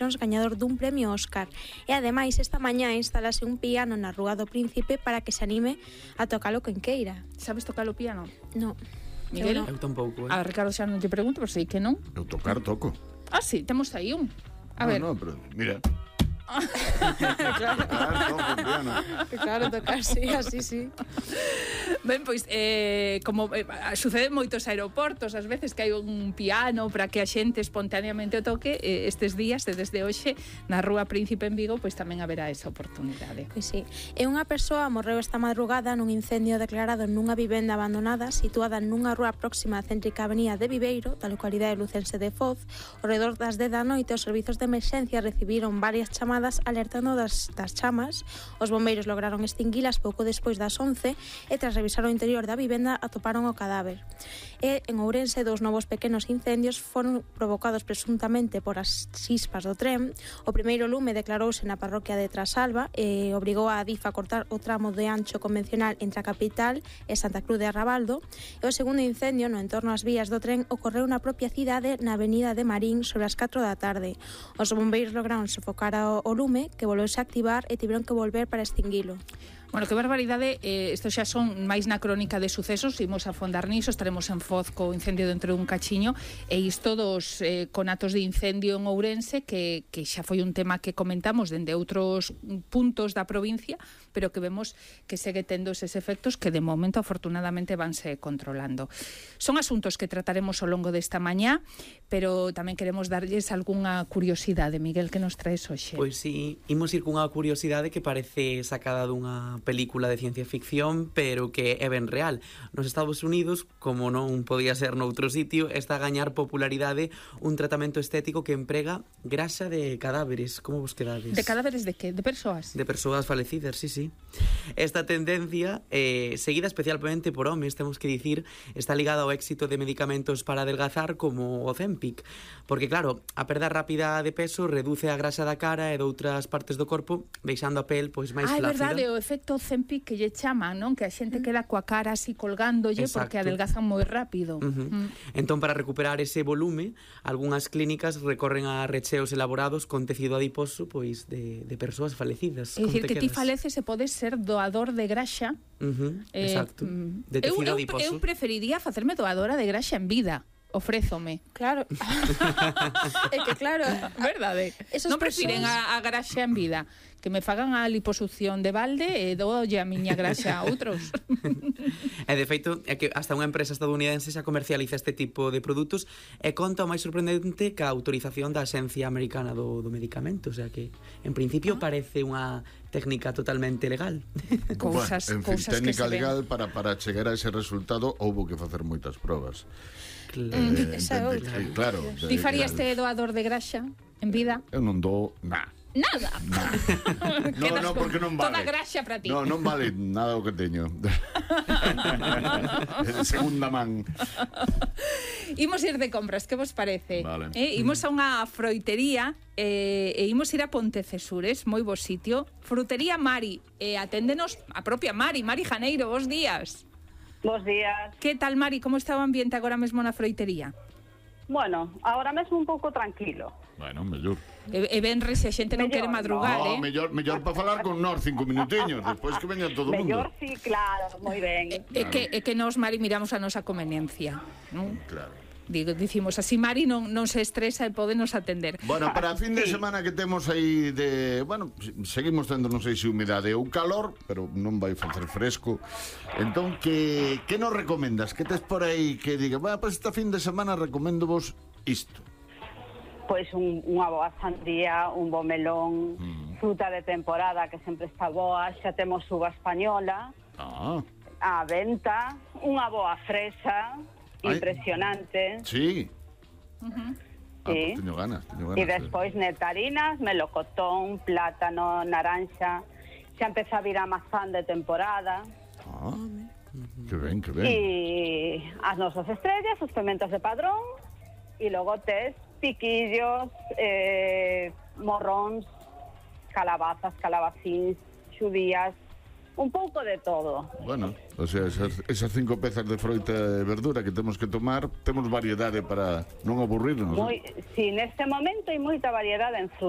gañador dun premio Óscar. E ademais, esta mañá instalase un piano na Rúa do Príncipe para que se anime a tocalo quen queira. Sabes tocar o piano? No. Miguel? Eu tampouco, A Ricardo xa non te pregunto, pero sei que non. Eu toco. Ah, sí, temos aí un. A ver. No, pero mira. Claro, tocar, sí, así, sí. Ben, pois, como sucede en moitos aeroportos, ás veces que hai un piano para que a xente espontaneamente o toque, estes días, desde hoxe, na Rúa Príncipe en Vigo, pois tamén haberá esa oportunidade. Pois sí. E unha persoa morreu esta madrugada nun incendio declarado nunha vivenda abandonada situada nunha rúa próxima á céntrica avenida de Viveiro, da localidade lucense de Foz. Ao redor das 10 da noite, os servizos de emerxencia recibiron varias chamadas alertando das chamas. Os bombeiros lograron extinguilas pouco despois das 11 e tras revisar o interior da vivenda atoparon o cadáver. E en Ourense, 2 novos pequenos incendios foron provocados presuntamente por as chispas do tren. O primeiro lume declarouse na parroquia de Trasalba e obrigou a Adif a cortar o tramo de ancho convencional entre a capital e Santa Cruz de Arrabaldo. E o segundo incendio no entorno ás vías do tren ocorreu na propia cidade, na avenida de Marín, sobre as 4 da tarde. Os bombeiros lograron sofocar o lume, que volveuse a activar e tiveron que volver para extinguilo. Bueno, que barbaridade, isto xa son máis na crónica de sucesos, imos a fondar niso, estaremos en Foz co incendio dentro dun cachiño, e isto dos conatos de incendio en Ourense, que xa foi un tema que comentamos dende outros puntos da provincia, pero que vemos que segue tendo eses efectos que de momento afortunadamente vanse controlando. Son asuntos que trataremos ao longo desta mañá, pero tamén queremos darlles algunha curiosidade. Miguel, que nos traes hoxe? Pois sí, imos ir cunha curiosidade que parece sacada dunha película de ciencia ficción, pero que é ben real. Nos Estados Unidos, como non podía ser noutro sitio, está a gañar popularidade un tratamento estético que emprega grasa de cadáveres. Como vos quedades? De cadáveres de que? De persoas? De persoas falecidas, sí. Esta tendencia, seguida especialmente por homes, temos que dicir, está ligada ao éxito de medicamentos para adelgazar como o Ozempic, porque claro, a perda rápida de peso reduce a grasa da cara e de outras partes do corpo, deixando a pel pois máis flácida. É verdade, o efecto Ozempic que lle chaman, non? Que a xente queda coa cara así colgándolle. Exacto. Porque adelgazan moi rápido. Entón, para recuperar ese volume, algunhas clínicas recorren a recheos elaborados con tecido adiposo pois de persoas falecidas. É dicir, que ti faleces e podes ser doador de graxa. Exacto. De tecido adiposo. Eu preferiría facerme doadora de graxa en vida. Ofrézome. Claro. É que claro, verdade. Non prefiren a graxa en vida, que me fagan a liposucción de balde e doolle a miña graxa a outros. E de feito, é que hasta unha empresa estadounidense xa comercializa este tipo de produtos e conta o máis sorprendente que a autorización da Axencia Americana do Medicamento, o sea que en principio parece unha técnica totalmente legal. Cousas técnica legal para chegar a ese resultado houbo que facer moitas probas. Claro. Ti farías este doador de graxa en vida? Eu non dou nada. Nada. No, porque non vale. Toda graxa para ti. No, non vale nada o que teño. Segunda man. Imos ir de compras, que vos parece? Vale. Imos a unha froitería e imos ir a Pontecesures, moi bo sitio. Frutería Mari, aténdenos a propia Mari Janeiro, bos días. Bos días. Que tal, Mari? Como está o ambiente agora mesmo na froitería? Bueno, agora mesmo un pouco tranquilo. Bueno, mellor. E venre se a xente non quere madrugar, no, mellor para falar con nós 5 minutiños, despois que veña todo o mundo. Mellor, sí, claro, moi ben. É que nós, Mari, miramos a nosa conveniencia, non? Claro. Dicimos así, Mari non se estresa e podenos atender. Bueno, para a fin de semana que temos aí de... Bueno, seguimos tendo, non sei se humidade ou calor, pero non vai facer fresco. Entón, que nos recomendas? Que tes por aí que diga, bueno, pues esta fin de semana recomendo vos isto? Pois unha boa sandía, un bo melón, fruta de temporada que sempre está boa, xa temos uva española, a venta, unha boa fresa... impresionante. Sí. Sí. Pues teño ganas. E despois nectarinas, melocotón, plátano, naranxa. Xa empeza a vir a mazán de temporada. Que ben. E as nosas estrellas, os pementos de padrón, e logo tes piquillos, morróns, calabazas, calabacíns, xudías, un pouco de todo. Bueno, o sea, esas 5 pezas de froita e verdura que temos que tomar, temos variedade para non aburrirnos. Si, neste momento hai moita variedade en fruta.